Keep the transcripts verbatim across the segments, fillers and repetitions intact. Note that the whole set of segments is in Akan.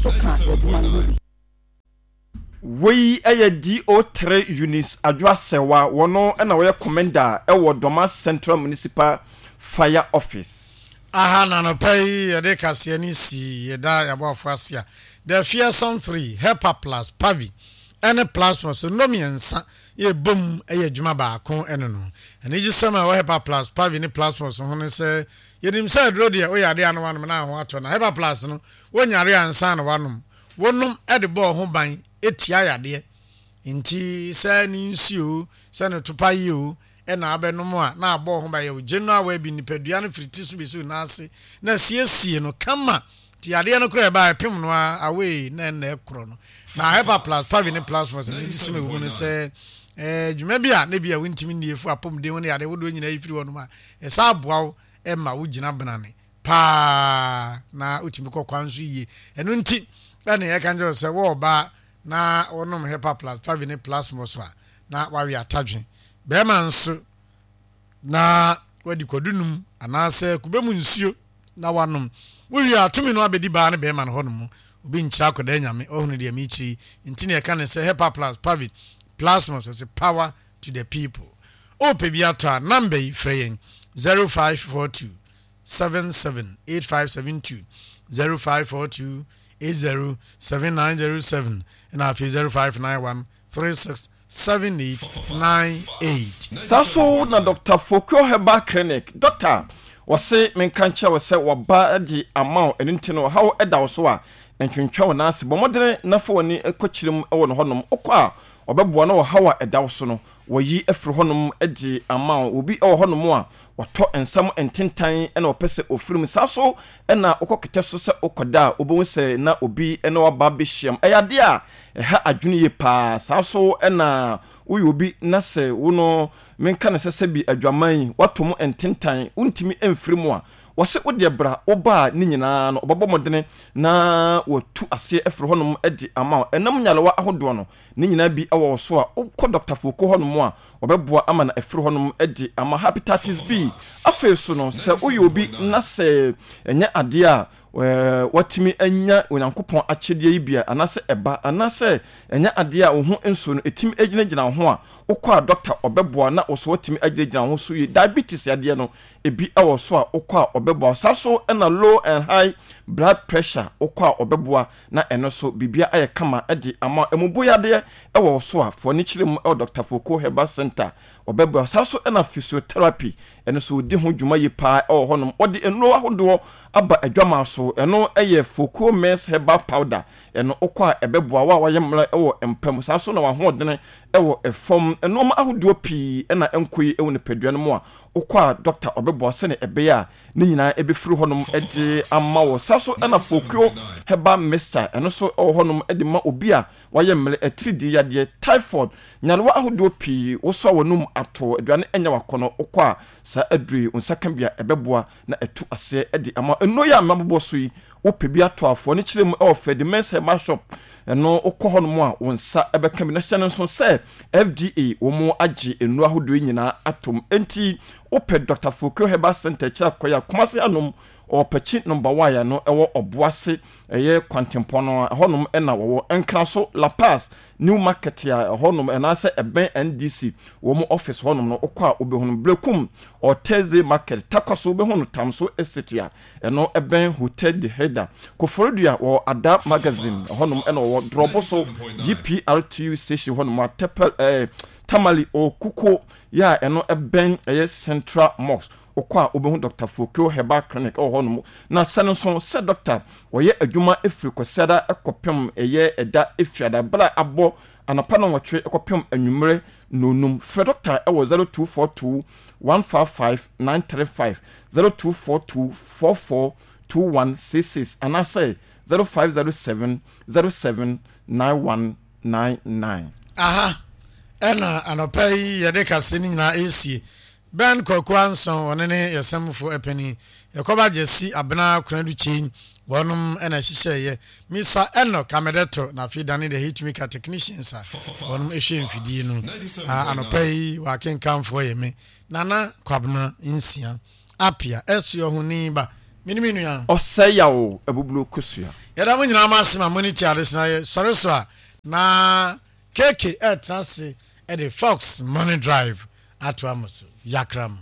nso ka adwuma no ho bi. Wei yɛ D O three Eunice Adwoa Serwaa, wɔno na wɔyɛ Commander wɔ Dormaa Central Municipal Fire Office. Aha na anɔpa yi yɛde kaseɛ no si. Yɛda yɛaboafo ase a The Fearsome Three, Hepa Plus, Pavi ɛne Plasmos nnɔ mmiɛnsa yɛbom yɛ adwuma baako. Ɛno no anigyesɛm a ɛwɔ Hepa Plus, Pavi ne Plasmos ho ne sɛ yɛnim sɛ aduro deɛ, woyɛ adeɛ a no wanom na ho atɔ, na Hepa Plus no, wonyare ansa na wanom. Wonom de bɔɔ ho ban etia yadeɛ, nti sɛ ne nsuo, sɛ ne topa yi o, ɛna abɛnom a na abɔ ho ban yɛ wo general well-being. Nipadua no firi ti so bɛsi wo nan ase na siesie no kama, nti yadeɛ no koraa ɛbaa ɛpem no a awei na ɛna ɛkorɔ no. Na Hepa Plus, Pavi ne Plasmos no gye sɛm ɛwɔ mu no sɛ ɛɛ dwuma bi a ne bi a wontumi nnie fu apɔmuden ho ne yadeɛ wodoɔ nyinaa yi firi hɔ nom a, ɛsa aboa wo ɛma wo gyina benane paa na wotumi kɔ kwan so yie. Ɛno nti ɛne yɛka nkyerɛ sɛ wɔ ɔbaa na wɔnom Hepa Plus, Pavi ne Plasmos a, na wawe atadwe. Bɛrima nso na wadi kwadu num anaasɛ kube mu nsuo na wanom. Wowie a, tumi no abɛdi baa ne bɛrima no hɔnom. Obi nkyerɛ akɔda Nyame ɔhunu deɛ mekyiri nti ne yɛka ne sɛ Hepa Plus, Pavi, Plasmos, ɛsɛ power to the people. Wopɛ bi atɔ a, number yi frɛ yɛn: zero five four two seven seven eight five seven two, zero five four two eight zero seven nine zero seven, ɛna afei zero five nine one three six seven eight nine eight. Saa so na Doctor Fokio Herbal Clinic doctor wɔse menka nkyerɛ wo sɛ wɔba de ama wo. Ɛno nti no, ɔhaw ɛda wo so a, ntwentwa wo nan ase, bɔ mmɔdene na fa w'ani kɔkyerɛ mu wɔ no hɔnom. Wokɔ a, ɔbɛboa na ɔhaw a ɛda wo so no, wɔyi afiri hɔnom de ama wo. Obi wɔ hɔnom a wɔtɔ nsam ntentan na ɔpɛ sɛ ofiri mu. Saa so ɛna wokɔ kɛtɛ so sɛ wokɔda a, wobɛhu sɛ na obi ne waba bɛhyiam. Ɛyɛ adeɛ a ɛha adwene yie paa. Saa so ɛna woyɛ obi na sɛ wo no menka no sɛ sɛbi adwaman yi wato mu ntentan, wontumi mfiri mu a, wɔsɛ wodeɛ bra. Woba a, ne nyinaa no ɔbɛbɔ mmɔdene na watu aseɛ afiri hɔnom de ama wo. Ɛnam nyarewa ahodoɔ no ne nyinaa bi wɔ wo so a, wokɔ Doctor Foko hɔnom a, wɔbɛboa ama no afiri hɔnom de ama. Hepatitis B afei so no, sɛ woyɛ obi na sɛ ɛnyɛ adeɛ a watumi anya Onyankopɔn akyɛdeɛ yi bia, anaasɛ ɛba, anaasɛ ɛnyɛ adeɛ a wo ho nsuo no ɛtumi gyinagyina wo ho a, wokɔ a, doctor ɔbɛboa na wo so watumi agyinagyina wo ho so yie. Diabetes yadeɛ no ebi wɔ so a, wokɔ a, ɔbɛboa. Saa so ɛna low and high blood pressure, wokɔ a, ɔbɛboa na ɛno so biribia ayɛ kama de ama. Ɛmubu yadeɛ ɛwɔ so a, fɔ ne kyerɛ mu ɛwɔ Doctor Foko Herbal Center, ɔbɛboa. Saa so ɛna physiotherapy, ɛno so ɔdi ho dwuma yie paa ɛwɔ hɔnom. Ɔde nnuro ahodoɔ aba adwama so. Ɛno ɛyɛ Foko Mens Herbal Powder. Ɛno wokɔ a, ɛbɛboa wo a wayɛ mmerɛ ɛwɔ mpa mu. Saa so na wahoɔdene ɛwɔ ɛfam, nneɛma ahodoɔ pii ɛna ɛnkɔ yi ɛwɔ nipadua no mu a, wokɔ a, doctor ɔbɛboa sɛne ɛbɛyɛ a ne nyinaa ɛbɛfiri hɔnom ɛde ama wɔ. Saa so ɛna Fokio Herbal Mixture, ɛno so ɛwɔ hɔnom ɛde ma obi a wayɛ mmerɛ, atiridii yadeɛ, typhoid, nyarewa ahodoɔ pii, wosɔ a wɔnum ato aduane ɛnyɛ wakɔnɔ. Wokɔ a, saa aduro yi nsa ka bi a, ɛbɛboa na ɛtu aseɛ ɛde ama. Nnuro yi a mmabobɔ so yi, wopɛ bi ato afoɔ ne kyerɛ mu ɛwɔ Fedimens Herbal Shop. Ɛno wokɔ hɔnom a, wo nsa ɛbɛka bi. Na hyɛ no nso sɛ F D A wɔn agye nnuro ahodoɔ yi nyinaa atom. Enti wopɛ Doctor Fokio Herbal Center kyerɛ akɔyɛ a, Kumase anom ɔpɛkyi number one no ɛwɔ Ɔboase, ɛyɛ kwantempɔn no ɛhɔnom ɛna wɔwɔ. Nkran so, La Paz New Market a ɛhɔnom ɛnaasɛ ɛbɛn N D C wɔn office hɔnom no, wokɔ a, wobɛhunu. Brekum ɔtɛze Market, Takwa so wobɛhunu Tamso Estate a ɛno ɛbɛn Hotel de Heda. Koforidua wɔ Ada Magazine ɛhɔnom ɛna wɔwɔ. Drɔbo so G P R T U station hɔnom a Tɛpɛl ɛɛ Tamale Okuko yɛ a, ɛno ɛbɛn ɛyɛ Central Mosque. Wokɔ a, wobɛhu Doctor Fokio Herbal Clinic ɛwɔ hɔnom. Na hyɛ no nso sɛ doctor wɔyɛ adwuma ɛfiri Kwasiada ɛkɔpem ɛyɛ ɛda Efiada, berɛ a abɔ anɔpa no nwɔtwe ɛkɔpem anwummerɛ nonum. Frɛ doctor ɛwɔ zero two four two one five five nine three five, zero two four two four four two one six six, anaasɛ zero five zero seven zero seven nine one nine nine. Aha ɛna anɔpa yi yɛde kase no nyinaa ɛresie. Ben Kwaku Anson, ɔne ne yɛsɛmfo ɛpɛni yɛkɔba Gyesi Abena Konadu Kyei, wɔnom ɛna ɛhyehyɛeɛ. Misa Enoch Amedɛto na afei dane de hitmaker technicians a wɔnom ɛhwɛ mfidie no. Anɔpa yi wɔakenkamfoɔ yɛ me Nana Kwabena Nsia Apia ɛso ɔhoni ba. Mene me nua. Ɔsɛe Yaw Abuburo Kosua. Yɛda mo nyinaa mo ase ma mo ani tua ade so na yɛ sɔre so a na K K ɛretena ase de Fox Morning Drive atoa mo so. Yakra mo.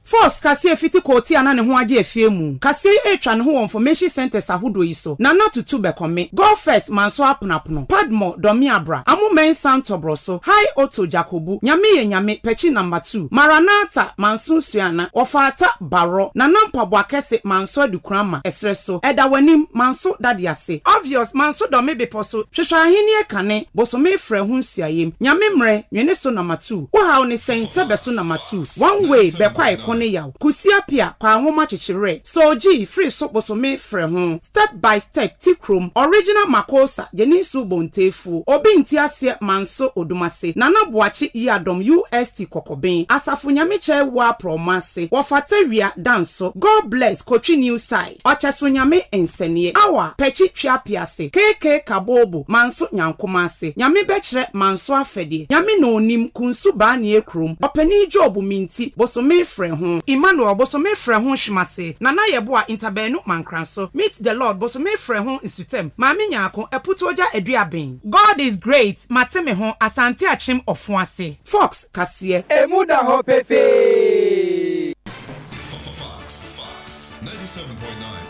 Force kaseɛ fiti kɔɔti a na ne ho agye afie mu. Kaseɛ yi retwa ne ho wɔ information centres ahodoɔ yi so: Nana Tutu Bɛkɔme, Go First Manso Aponapono, Padmore Dɔme Abra, Amo Mensah Ntɔbrɔso, High Otto Jakobu, Nyame Yɛ Nyame Pɛkyi Number Two, Maranatha Manso Suana, Wɔfaata Barɔ, Nana Mpaboa Kɛse Manso Adukurama, Ɛserɛ So, Ɛda W'anim Manso Dade Ase, Obvious Manso Dɔme Bepɔ So, Hwehwɛ Ahennie Kane, Bosome Frɛ Ho Nsuayem, Nyame Mmerɛ, Nwene So Number Two, Wo Haw Ne Sɛn, Tɛbɛ So Number Two, One Way, Bɛkwae Ko Ne Yaw, Kusi Apia, Kwa Nwoma Kyekyewerɛ, Soji, Firi So Bosome Frɛ Ho, Step by Step, Ti Kurom, Original Makosa, Gyeninsu Bontefuo, Obi Nti Aseɛ Manso Odumase, Nana Boakye Yiadom U S T Kɔkɔben, Asafo Nyamekyɛ Wua Prɔmo Ase, Wɔfata Wia Danso, God Bless Kotwi New Side, Ɔkyɛso Nyame Nsɛneɛ, Awa, Pɛkyi Tweapease, K K Kabobo, Manso Nyankoma Ase, Nyame Bɛkyerɛ Manso Afɛdeɛ, Nyame Na Onim, Kunsu Baanie Kurom, Ɔpanin Job Minti, Bosome Frɛ Ho, Emmanuel Bosome Frɛ Ho Hwemase, Nana Yɛboa Ntabaanu Mankranso, Meet the Lord Bosome Frɛ Ho Nsutam, Maame Nyaako, Aputuogya Aduaben, God is Great, Mate Me Ho, Asante Akyem Ɔfo Ase, Fox Kaseɛ. Emu da hɔ pefee. Fox, Fox, ninety-seven point nine.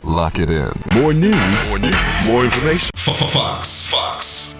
Lock it in. More news, more news, more information. Fox, Fox.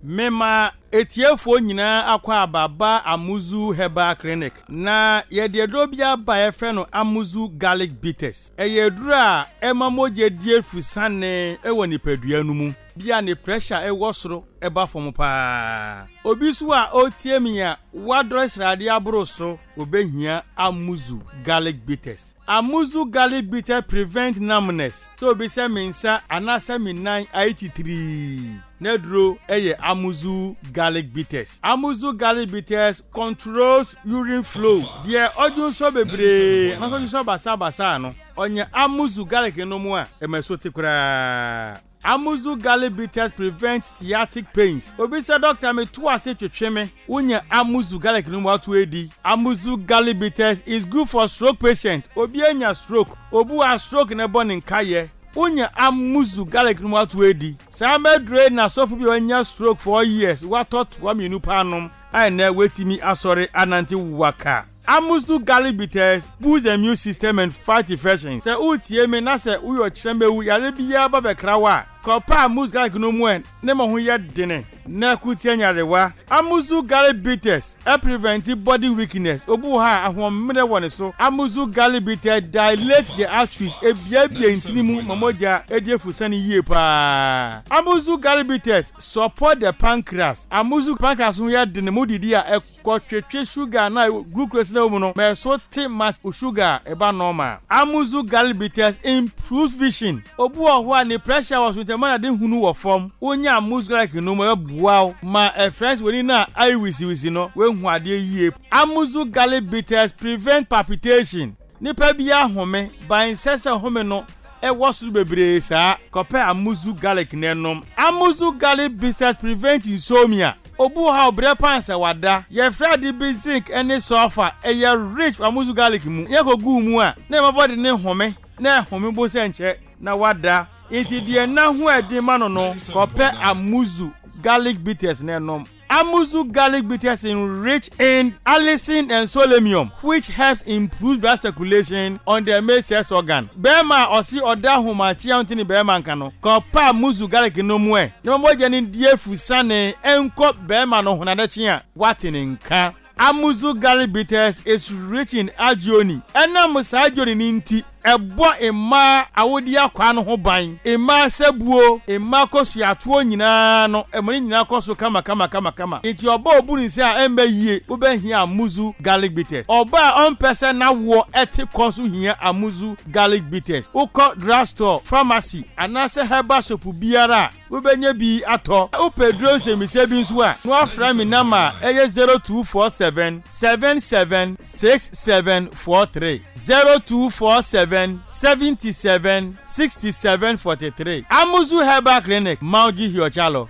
Mema etiefoɔ nyinaa akɔ ababa Amuzu Herbal Clinic na yɛde aduro bi aba a yɛfrɛ no Amuzu Garlic Bitters. Ɛyɛ aduro a ɛma mogya di efusane ɛwɔ nipadua no mu bia ne pressure ɛwɔ soro ɛba fam paa. Obi nso a ɔretie mi a wadɔre sradeɛ aboro so, obehia Amuzu Garlic Bitters. Amuzu Garlic Bitters prevent numbness, sɛ obi sɛ me nsa anaasɛ me nan ayɛ kyitirii, n'aduro yɛ Amuzu Garlic Bitters. Amuzu Garlic Bitters controls urine flow. Deɛ ɔdwo nsɔ bebree anaasɛ ɔdwo nsɔ basabasa no, ɔnyɛ Amuzu Garlic no mu a ɛmɛ so te koraa. Amuzu Garlic Bitters prevent sciatic pains. Obi sɛ, "Doctor, me to ase twetwe me," wonya Amuzu Garlic no mu ato edi. Amuzu Garlic Bitters is good for stroke patient. Obi anya stroke, obi wa stroke na ɛbɔ ne nkayɛ, wonya Amuzu Garlic no mu ato edi. Saa mɛdure na sɔfo bi a wanya stroke four years watɔ toa mmienu paanom a ɛnɛ wetumi asɔre anante waka. Amuzu Garlic Bitters boost the immune system and fight infections. Sɛ wotie me na sɛ woyɛ ɔkyerɛmɛwu yare biara ba bɛkra wo a, kɔpa Amuzu Garlic no mu ɛ ne ma ho yɛ dene na kutia nyarewa. Amuzu Garlic Bitters ɛ prevent body weakness. Obi wɔ ha a ahoɔmmerɛ wɔ ne so. Amuzu Garlic Bitters dilate the arteries, ebiebie ntini mu ma mogya edi efusane yie paa. Amuzu Garlic Bitters support the pancreas. Amuzu pancreas ho yɛ dene mu didi a ɛkɔtwetwe sugar na glucose na wɔ mu no ma ɛso te ma sugar ɛba normal. Amuzu Garlic Bitters improves vision. Obi wɔ hɔ a ne pressure wɔ so ntɛm na de hunu wɔ fam, wonya Amuzu Garlic no mu, ɛbɛboa wo ma ɛfrɛ sɛ w'ani no a ayɛ wisiwisi no, woehu adeɛ yie. Amuzu Garlic Bitters prevent palpitation. Nipa bi ahome ban sɛ sɛ home no ɛwɔ soro bebree saa, kɔpɛ Amuzu Garlic n'ɛnom. Amuzu Garlic Bitters prevent insomnia. Obi wɔ ha ɔbrɛ pan sɛ wada. Yɛfrɛ ade bi zinc ne sulfur, ɛyɛ rich wɔ Amuzu Garlic mu. Yɛ kɔ gu mu a na ɛma bɔde ne home na ɛhome bo sɛ nkyɛ na wada. Nti deɛ na ho ɛden ma no no kɔpɛ Amuzu Garlic Bitters n'ɛnom. Amuzu Garlic Bitters is rich in allicin and selenium, which helps improve blood circulation on the male sex organ. Bɛrima a ɔsi ɔda ahomakye a ɔnti ne bɛrima nka no, kɔpa Amuzu Garlic no mu ɛ na mogya no di efusane nkɔ bɛrima no ho na n'akyi a wate ne nka. Amuzu Garlic Bitters is rich in arginine. Ɛnam saa arginine ne nti, ɛbɔ mmaa awodi akwa no ho ban. Mmaa sɛbuo, mmaa kɔsuatoɔ nyinaa no, ɛmo ne nyinaa kɔ so kama kama kama kama. Nti ɔbaa obu ne nsa a ɛmbɛ yie, wobɛhia Amuzu Garlic Bitters. Ɔbaa a ɔmpɛ sɛ n'awoɔ ɛte kɔ so hia Amuzu Garlic Bitters. Wokɔ drugstore, pharmacy anaasɛ herbal shop biara a, wobɛnya bi atɔ. Wopɛ duro nsɛmmisa bi nso a, na wafrɛ me number a ɛyɛ zero two four seven seven seven six seven four three, zero two four seven seventy-seven sixty-seven forty-three. Amuzu Herbal Clinic, Mauji Hiochalo.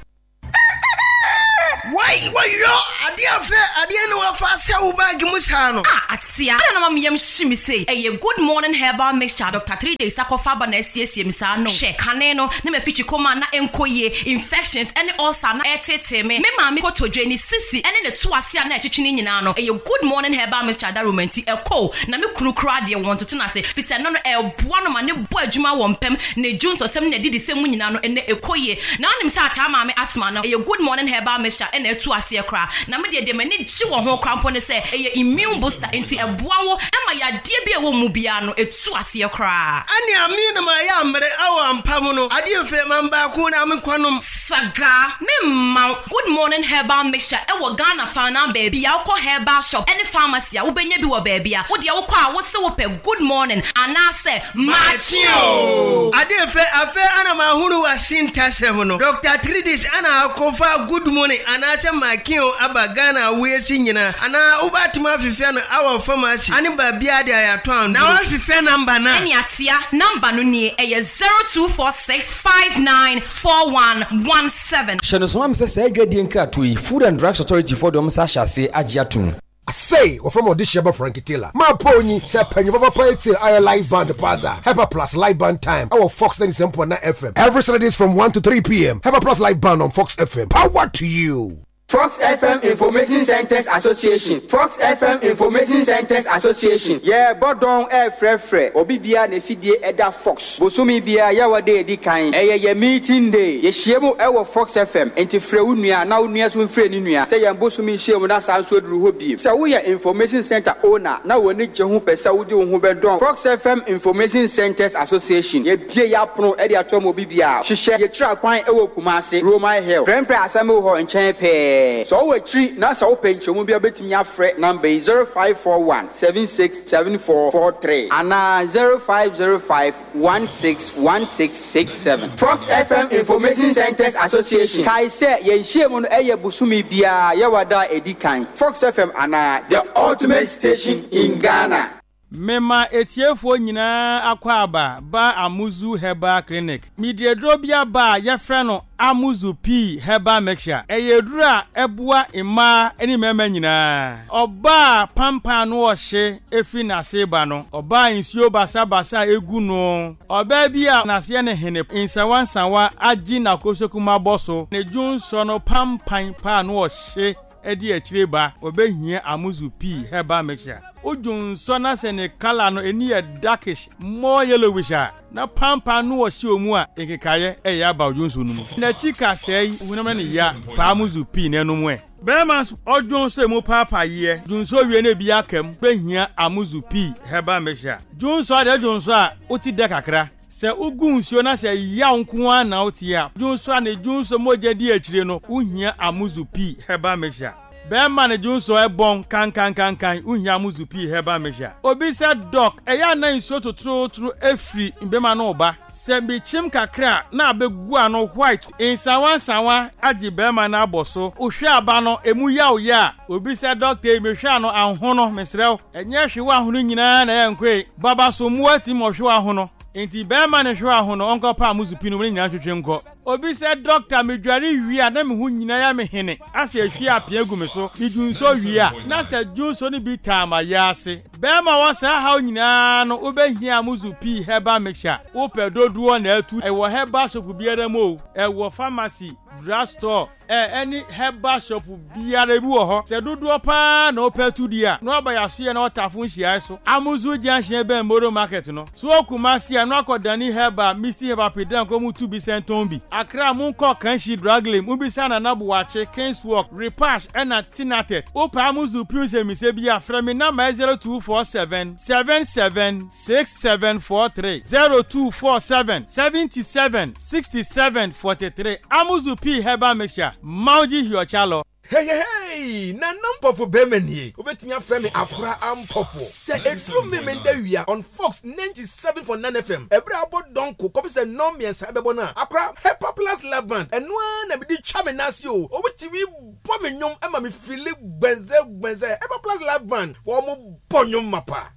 Wai wayo. Adeɛ fɛ adeɛ ne wafa sɛ wo bag mu saa no. Ah, atea. Ana na mameyam hye me sei. Ɛyɛ Good Morning Herbal Mixture Doctor Three Days akɔfa aba na asiesie me saa no. Hwɛ, kane no, na mafikyi kɔma na ɛnkɔ yie, infections ɛne ulcer na ɛtetee me. Me maame kotodwe, ne sisi ɛne ne to ase a na ɛtwetwe ne nyinaa no, ɛyɛ Good Morning Herbal Mixture adaroma nti ɛkɔ. Na me kunu koraa deɛ wɔn toto no ase, fi sɛ no no ɛboa no ma ne bɔ adwuma wɔ mpɛm, ne dwonsɔsɛm ne n'adidisɛm mu nyinaa no ɛnɛ ɛkɔ yie. Na wonim sɛ ataa maame asthma no, ɛyɛ Good Morning Herbal Mixture ɛna ɛtu aseɛ koraa. Na me deɛ deɛ m'ani gye wɔ ho koraa mpo ne sɛ ɛyɛ immune booster nti ɛboa wo ɛma yadeɛ bi a ɛwɔ mu biara no ɛtu aseɛ koraa. Ane ame na mayɛ amere awɔ ampa mu no adeɛ fɛ man baako na menkɔnom. Saga, me mma wo Good Morning Herbal Mixture ɛwɔ Ghana faanaa baabi a wokɔ herbal shop ɛne pharmacy a wobɛnya bi wɔ baabi a wo deɛ wokɔ a wose wopɛ Good Morning anaasɛ Makye o. Adeɛ fɛ afɛ ana mahunu wase ntasɛm no Doctor Tridis ana akɔfa Good Morning anaasɛ Makye o aba Ghana awoyɛsi nyinaa anaa wobɛatumi afefɛ no awɔ pharmacy ane baabia de ayɛatɔ anduro. Na wafefɛ number no a. Ɛne atea number no nie, ɛyɛ zero two four six five nine four one one seven. Hyɛ no soma me sɛ saa adwadie nkratoɔ yi, Food and Drugs Authority foɔ de wɔn nsa ahyɛ aseɛ agye atom. Asei, wɔfrɛ me Ɔdehyeɛ Frankie Taylor. Maa Paul nyi sɛ panyin papapa etie ayɛ live band paza Hepa Plus live band time ɛwɔ Fox ninety-seven point nine F M every Saturdays from one to three P M. Hepa Plus live band on Fox F M. Power to you. Fox F M Information Centers Association. Fox F M Information Centers Association. Yeah, bodon eh frɛ frɛ. Obi bia na fidie ɛda Fox. Bosome bia ya wade edi kan. Ɛyɛ yɛ meeting day. Yɛhyia mu ɛwɔ Fox F M. Enti frɛ wo nua na wo nua so mfrɛ ne nua. Sɛ yɛn bosome hyia mu na saa nso aduru hɔ biem. Sɛ woyɛ Information Center owner na w'ani gye ho pɛ sɛ wode wo ho bɛdɔn Fox F M Information Centers Association. Yɛbie yɛ apono ɛde ato ma obi bia. Hyehyɛ yɛkyerɛ kwan ɛwɔ Kumase, Roman Hill. Prɛmprɛ asɛm wɔ hɔ nkyɛn pɛɛ. So wo akyiri na sɛ wopɛ nkyɛmu bi a wobɛtumi afrɛ number yi zero five four one seven six seven four four three anaa zero five zero five one six one six six seven. Fox F M Information Centers Association. Kai sɛ yɛn nhyiamu no ɛyɛ bosome biara yɛwɔ da a ɛdi kan. Fox F M anaa the ultimate station in Ghana. Mema etiefoɔ nyinaa akɔ aba ba Amuzu Herbal Clinic. Midieduro bi aba a yɛfrɛ no Amuzu P Herbal Mixture. Ɛyɛ aduro a ɛboa mmaa ne mmarima nyinaa. Ɔbaa pampan no ɔhye efiri n'ase ba no. Ɔbaa nsuo basabasa egu no. Ɔbaa bi a n'aseɛ ne hene nsawa nsawa agye n'akosoku abɔ so. Ne dwonsɔ no pampan paa no ɔhye ɛde akyire ba. Ɔbɛhia Amuzu P Herbal Mixture. Odwonsɔ na sɛ ne kala no ani yɛ darkish, more yellowish a, na pampan no ɔhyɛ omu a nkekaeɛ ɛyɛ aba odwonsɔ no mu. N'akyi kasɛe yi honam ne ya paa Amuzu P n'anom ɛ. Bɛrima nso ɔdwonsɔ emu paapaayeɛ. Dwonsɔ wie na ebi aka mu. Bɛhia Amuzu P Herbal Mixture. Dwonsɔ adeɛ dwonsɔ a wote dɛ kakra. Sɛ wogu nsuo na sɛ yaw nko ara na wote a, dwonsɔ a ne dwonsɔ mogya di akyire no, wohia Amuzu P Herbal Mixture. Bɛrima ne dwonsɔ ɛbɔn kankankankan, wohia Amuzu P Herbal Mixture. Obi sɛ dɔk, ɛyɛ ana nsuo totorotoro efiri mbɛma no ba. Sɛ mekyim kakra na abɛgu ano white, nsawa nsawa agye bɛrima no abɔ so. Wohwɛ aba no, emu yaw yɛ a, obi sɛ dɔkta yi mehwɛ ano ahono, mesrɛ wo. Ɛnyɛ hwe ahono nyinaa na ɛyɛ nkoe. Baba so mmoa ti ma ɔhwe ahono. Enti bɛrima ne hwe ahono, ɔnkɔpa Amuzu P no mu ne nyinaa twetwe nkɔ. Obi sɛ dɔkta medware wie a na me ho nyinaa yɛ me hene. Asɛ ehwie apea gu me so. Me dwonso wie a na sɛ dwonso no bi taa ma yɛ ase. Bɛrima wɔ saa haw nyinaa no wobɛhia Amuzu P Herbal Mixture. Wopɛ dodoɔ na atu. Ɛwɔ herbal shop biara mu o. Ɛwɔ pharmacy, drug store, ɛ ɛne herbal shop biara bi wɔ hɔ. Sɛ dodoɔ paa na wopɛ tu di a, na waba yɛasoyɛ na wɔtafo nhyiae so. Amuzu Junction bɛn Moro Market no. So Kumasi a na wakɔ Dani Herbal, Misty Herbal Pedan kɔ mu tu bi sɛntɔn bi. Accra mu nkɔ Kanshi Drug Lane, mu bisa Nana Buakye, Kings Walk, Repash ɛna Tinatet. Wopɛ Amuzu P nsɛmmisɛ bi a, frɛ me number zero two four seven seven seven six seven four three zero two four seven seventy seven sixty seven forty three. Amuzu P Herbal Mixture. Mauji Hiochalo. Hey, hey, hey! Nana Mpɔfo bɛrima nie. Wobɛtumi afrɛ me Akora Ampɔfo. Sɛ ɛduru me menda wia on Fox ninety-seven point nine F M. Ɛberɛ a abɔ dɔnko kɔpi sɛ nnɔn mmiɛnsa ɛbɛbɔ no a, Akora Hepa Plus Love Band. Ɛno ara na mede twa me nan ase o. Wɔtumi bɔ me nnwom ma me fili gbɛnzɛ gbɛnzɛ. Hepa Plus Love Band, wɔn bɔ nnwom mapa.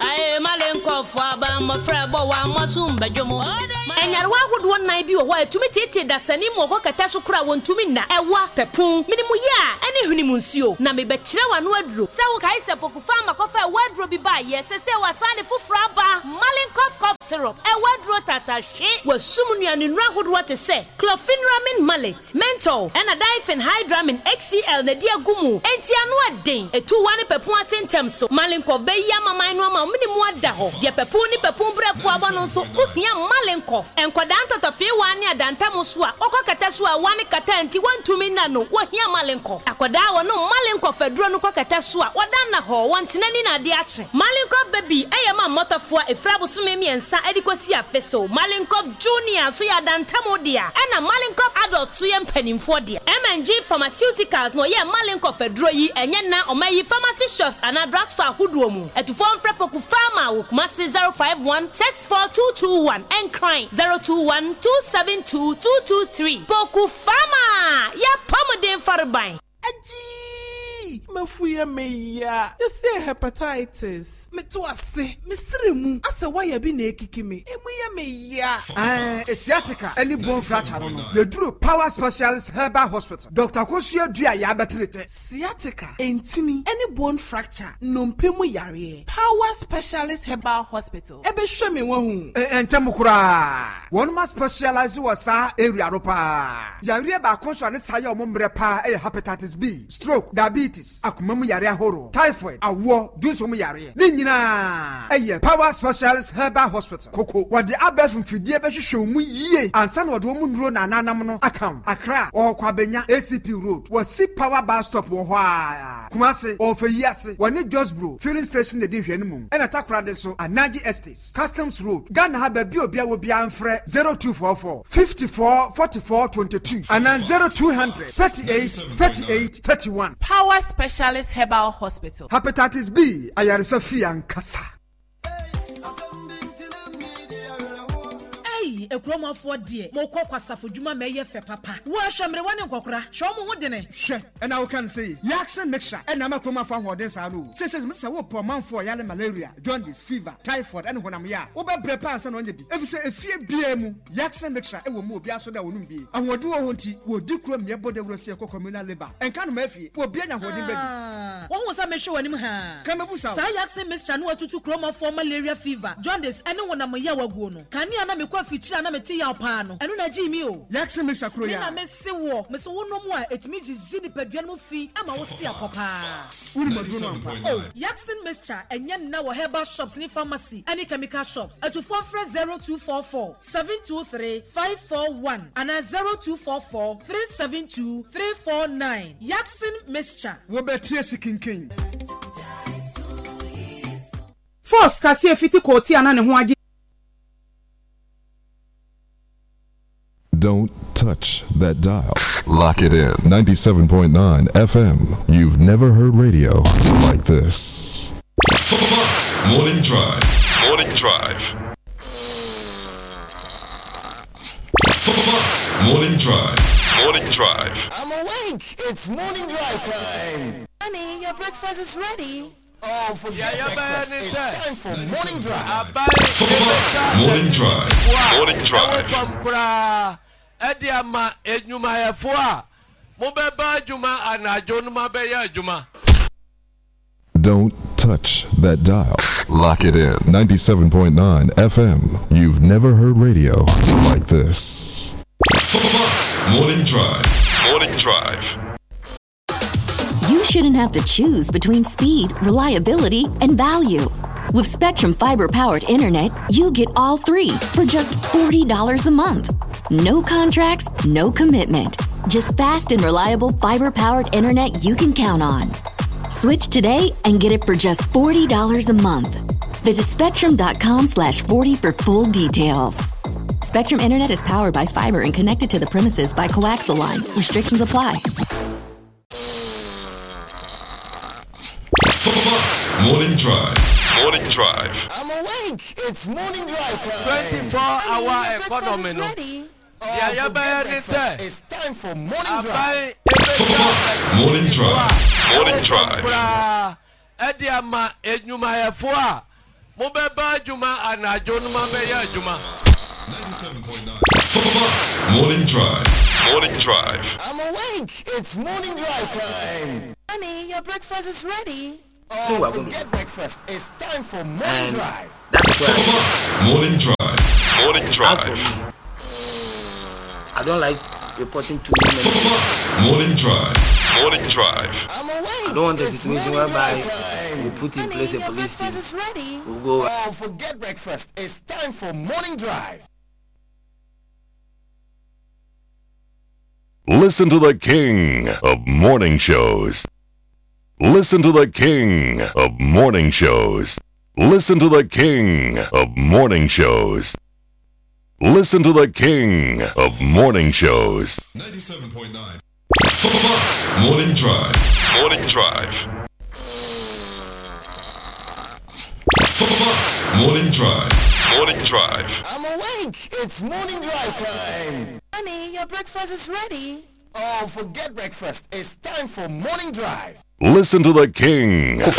Aye, Enyarewa ahodoɔ nnan bi wɔ hɔ a ɛtumi tietie dasani mu ɔkɔ kɛtɛ so kora wɔntumi nna ɛwa pɛpon minimu yɛ a ɛne hwene mu nsuo na mebɛkyerɛ w'ano aduro sɛ wokae sɛ pokufa amakɔfa ɛwɔ aduro bi baayɛ sɛ sɛ wasan ne foforɔ aba Malinkoff cough syrup ɛwɔ aduro tatahwe wasum nnuane nnuro ahodoɔ te sɛ chlorpheniramine maleate menthol ɛna diphenhydramine H C L na di agu mu enti ano ɛden etu wa ne pɛpon ase ntɛm so Malinkoff bɛyi amaman no ama minimu ada hɔ deɛ pɛpon ne pɛpon brɛfo aba no nso wohia Malinkoff nkwadaa ntɔtɔfeewa ne adantam so a wɔkɔ kɛtɛ so a wane kata nti wɔntumi nna no wɔhia Malinkoff akwadaa wɔno Malinkoff aduro no kɔ kɛtɛ so a wɔda nna hɔ wɔntena ni na ade akye Malinkoff baby ɛyɛ ma mmɔtɔfoɔ efra abosome mmiɛnsa ɛde kɔsi afe so Malinkoff junior so yɛ adantam dea ɛna Malinkoff adult so yɛ mpanimfoɔ dea M N G Pharmaceuticals na ɔyɛ Malinkoff aduro yi ɛnyɛ na ɔma yi pharmacy shops anaa drugstore ahodoɔ mu ɛtufoɔ mfrɛ Poku Pharma wɔ Kumasi zero five one six four two two one Nkran zero two one two seven two two two three Poku Pharma ya pɔmuden fareban. Aji mafuye meya yɛsɛ hepatitis meto ase mesere mu asɛ waya bi na ekiki me emu yɛ meya eh sciatica any bone fracture no yɛduru Power Specialist Herbal Hospital Doctor Kosua Dua ya betrete sciatica entini any bone fracture nnompe mu yare Power Specialist Herbal Hospital ebe hwe me wahu eh ntem kura won ma specialize wɔ saa area no pa yare ba konso ne saa ye omre pa eh hepatitis B, stroke, diabetes, akoma mu yare ahoro, typhoid, awo, dunso mu yare. Ni nyina eye Power Specialist Herbal Hospital. Koko wode abef mfidie be hwehwe mu yie ansa na wode mu nuro na ananam no account. Accra wo kwabenya A C P Road. Wo si Power bus stop wo ho a. Kumase wo feyiase wo ne Josbro filling station de hwe mu. Ena Takoradi so Anaji Estates, Customs Road. Ghana ha ba bi obi a wo bia mfrɛ zero two four four fifty-four forty-four twenty-two and zero two hundred thirty-eight thirty-eight thirty-one. Power Specialist Herbal Hospital. Hepatitis B, ayaresa fi ankasa. Hey, ekromafo de, mo kɔ kwasafo dwuma ma ye fe papa. Wo ahwemre wane nkokora, hwe mo ho dene. Hwe, and I can say, Yaksen mixture, and I'm a kromafo ahoden saa no. Say say say wo pomanfo yale malaria, jaundice, fever, typhoid, and honam ya. Wo be bre pa ansa na onye bi. If say efie bia mu, Yaksen mixture e wo mu obi aso da wonu bi. Ahodu wo ho nti, wo di krom ye bode wuro se ekɔ communal labor. Enka no ma afie, wo bia nya ahoden ba bi. Wo hu sa me hwe wanim ha. Ka me busa. Sa Yaksen mixture no atutu kromafo malaria, fever, jaundice, and honam ya waguo no. Kani ana me kwa fichira na me te ya pa no. Enu na ji mi o. Yaksen mixture kro ya. Me na me se wo, me se wo no mu a etimi jiji ni padua no fi ama wo se akopa. Woni maduro no ampa. Oh, Yaksen mixture enye na wo herbal shops ni pharmacy, any chemical shops. Atufo frɛ zero two four four seven two three five four one and zero two four four three seven two three four nine. Yaksen mixture. Wo betie sikinkin. Force kase fiti koti ana ne ho agye. Don't touch that dial. Lock it in. ninety-seven point nine F M. You've never heard radio like this. Fox Morning Drive. Morning Drive. Fox Morning Drive. Morning Drive. I'm awake. It's Morning Drive time. Honey, your breakfast is ready. Oh, forget yeah, breakfast. It's time for Morning Drive. Fox Morning Drive. Morning Drive. Edi ama enyumayɛfo a mobɛba adwuma anadwo no mabɛyɛ adwuma. Don't touch that dial. Lock it in. ninety-seven point nine F M. You've never heard radio like this. Fox Morning Drive. Morning Drive. You shouldn't have to choose between speed, reliability, and value. With Spectrum Fiber-powered internet, you get all three for just forty dollars a month. No contracts, no commitment. Just fast and reliable fiber-powered internet you can count on. Switch today and get it for just forty dollars a month. Visit spectrum.com slash forty for full details. Spectrum Internet is powered by fiber and connected to the premises by coaxial lines. Restrictions apply. Fox Morning Drive. Morning Drive. I'm awake. It's Morning Drive time. twenty-four hour economy no. Oh, yeah, yeah, it's time for Morning Drive. Fox Morning Drive. Morning Drive. Edi ama enyumayɛfo a mobɛba adwuma anadwo no mabɛyɛ adwuma. Fox Morning Drive. Morning Drive. I'm awake. It's morning drive time. Honey, your breakfast is ready. Oh, we're going to forget breakfast. It's time for morning And drive. that is why Fox Morning Drive. Morning as for Drive. me, I don't like reporting too many. Fox Morning Drive. Morning Drive. I'm awake. I don't want a It's situation morning whereby drive time. we put in place a police team. Breakfast is ready. We'll go Oh, forget breakfast. It's time for morning drive. Listen to the king of morning shows. Listen to the king of morning shows. Listen to the king of morning shows. Listen to the king of morning shows. ninety-seven point nine Fox Morning Drive. Morning Drive. Fox Morning Drive. Morning Drive. I'm awake. It's morning drive time. Honey, your breakfast is ready. Oh, forget breakfast. It's time for morning drive. Listen to the king of